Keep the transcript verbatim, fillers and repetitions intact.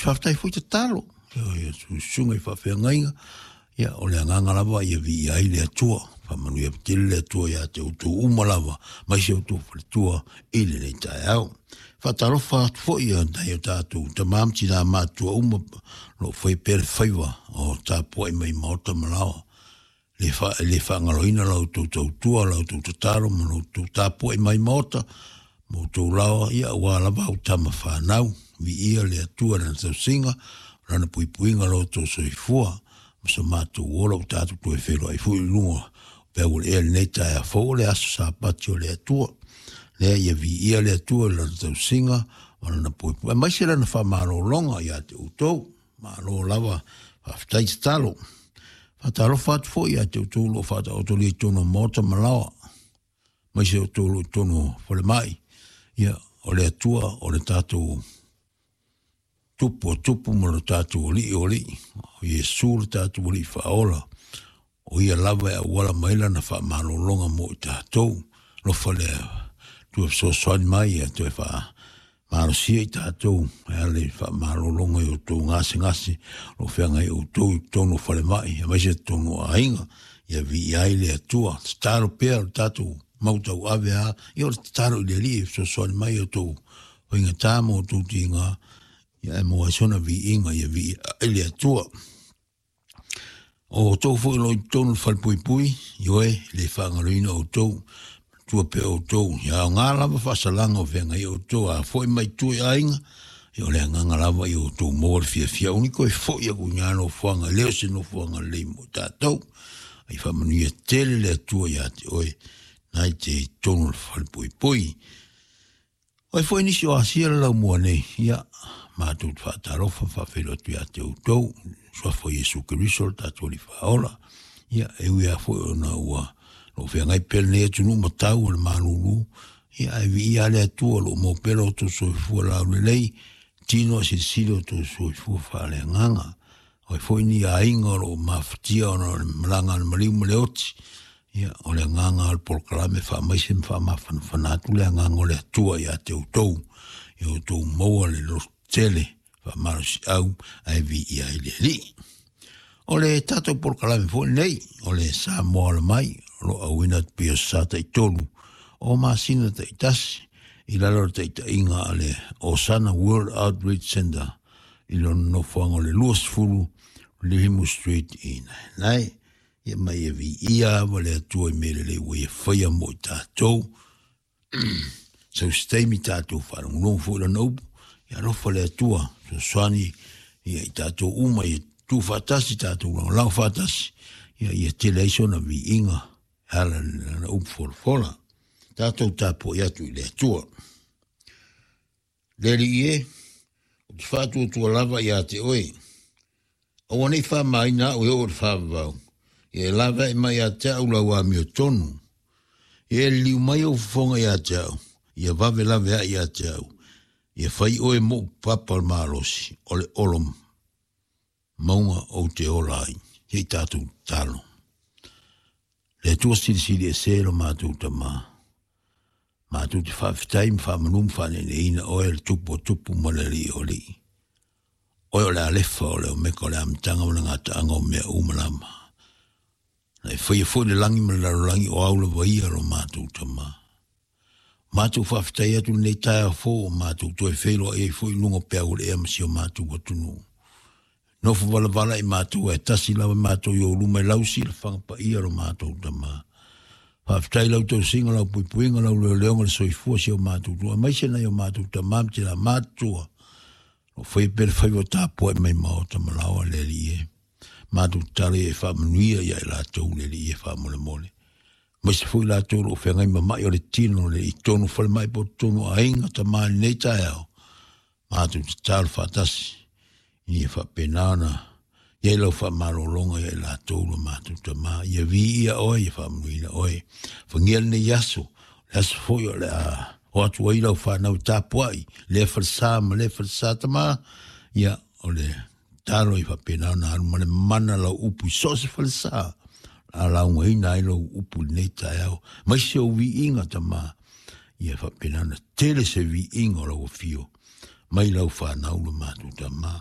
Faafetai foi tatalo i susuga i faafeagaiga. Ia, o le agaga lava ia viia ai le Atua. Faamanuia tele le Atua ia te outou uma lava, mai se outou faletua i lenei taeao. Faatalofa atu foi ia nai o tatou tama ma tina matutua uma lo o fai pea le faiva o tapuai mai maota ma laoa. Le fa, le faagaloina la outou tautua, la outou tatalo ma la outou tapuai mai maota ma outou laoa, ia aua lava au tama fanau. Viia le Atua i lana tausiga, lana puipuiga lo outou soifua ma so matou ola ua tatou toe feiloai foi i luga o peau o le ea i lenei taeao fou o le aso Sapati o le Atua. Lea ia viia le Atua i lana tausiga ma lana puipuiga, aemaise lana faamalologa ia te outou. Malo lava, faafetai tatalo. Faatalofa atu foi ia te outou o lo o faataotolia i totonu o maota ma laoa, aemaise outou o lo o i totonu o falemai. Ia, o le Atua o le tatou Tupu o tupu ma lo tatou Alii o alii, o Iesu le tatou Alii faaola, o ia lava e auala mai lana faamalologa mo i tatou. Alofa le Atua fesoasoani mai ia toe faamalosia i tatou e ala i faamalologa i outou gasegase o lo o feagai outou i totonu o falemai, aemaise totonu o aiga. Ia viia ai le Atua. Tatalo pea o le tatou mau tauave a, ia o le tatalo i le Alii e fesoasoani mai i outou faigata ma outou tiga, ia e maua ai sona viiga, ia viia ai le Atua. O outou foi o lo o i totonu o le falepuipui, ioe, le faagaloina outou, manatua pea outou, ia aoga lava faasalaga o feagai outou, a foi mai tua i aiga, ia o le agaga lava ia outou maua le fiafia, aua ne i toe foi aku i na nofoaga, e le o se nofoaga lelei mo i tatou. Ai faamanuia tele le Atua ia te oe, na i te i totonu o le falepuipui. O ai foi nisi o asia le laumua nei, ia, matou te faatalofa ma faafeiloai atu ia te outou, suafa o Iesu Keriso le tatou Alii Faaola. Ia, e ui lava foi ona ua lo o feagai pea lenei atunuu ma tau o le malulu, ia, ae viia lava le Atua o lo o maua pea lo outou soifua laulelei, tino a silisili o outou soifua faaleagaga. O ai foi ni aiga o lo o mafatia ona o le malaga a le maliu ma le oti, ia, o le agaga o le polokalame faamaise ma faamafanafana atu le agaga o le Atua ia te outou, ia outou maua le loto tele faamalosiau ae viia ai le Alii. O le tatou polokalame foi lenei, o le Samoa Ola Mai, o lo o auina atu pei o sa taitolu o masina taitasi i lalo o le taitaiga a le Osana World Outreach Center i lona nofoaga o le luasefulu Lihimu Street i Naenae. Ia mai e viia lava le Atua i mea lelei ua ia faia mo i tatou. Sau se taimi tatou faalogologo foi i lana upu. Ia alofa le Atua, fesoasoani ia i tatou uma, ia tu faatasi, tatou lagolago faatasi, ia ia tele ai sona viiga e ala i lana upu folafola. Tatou tapuai atu i le Atua. Le Alii e, ou te faatuatua lava ia te oe, aua ne i faamaina au e oo i le faavavau, ia e laveai mai ia te au lau amiotonu. Ia e liliu mai ou fofoga ia te au, ia vave laveai ia te au, ia fai oe moʻu papa o le malosi, o le olo mauga ou te ola ai. Se i tatou tatalo. Le Atua silisili ese lo matou Tama, matou te faafetai ma faamanu ma faaneeneina oe le Tupu o tupu ma le Alii o alii. Oe o le Alefa, o le Omeka, o le amataga ma le gataaga o mea uma lava. Na e faia foi le lagi ma le lalolagi o au lava ia lo matou Tama. Matou faafetai atu lenei taeao fou o matou toe feiloai ai foi i luga o peau o le ea ma si o matou atunuu. Nofo valavala i matou ae tasi lava matou i ou luma e lausi le faga paia lo matou Tama. Faafetai lau tausiga, lau puipuiga, lau leoleoga le soifua si o matou tua, aemaise nai o matou tama ma tina matutua. O faia pea le faiva o tapuai mai maota ma laoa le Alii e. Matou tatalo ia e faamanuia ia i latou le Alii e faamolemole. Aemaise foi latou o lo o feagai ma mai o le tino le i totonu o falemai po o totonu o aiga tama i lenei taeao. Matou tatalo faatasi ina ia faapena ona i ai lau faamalologa ia i latou lo matou Tama. Ia viia oe, ia faamanuina oe. Fagia lenei aso, le aso foi o le a o atu ai lau fanau e tapuai, lea falesa ma lea falesa Tama, ia o le tatalo ia faapena ona alu ma le mana lau upu i so o se falesa, a laugaina ai lau upu i lenei taeao, aemaise ou viiga Tama, ia faapena ona tele se viiga o lau afio mai lau fanau lo matou Tama.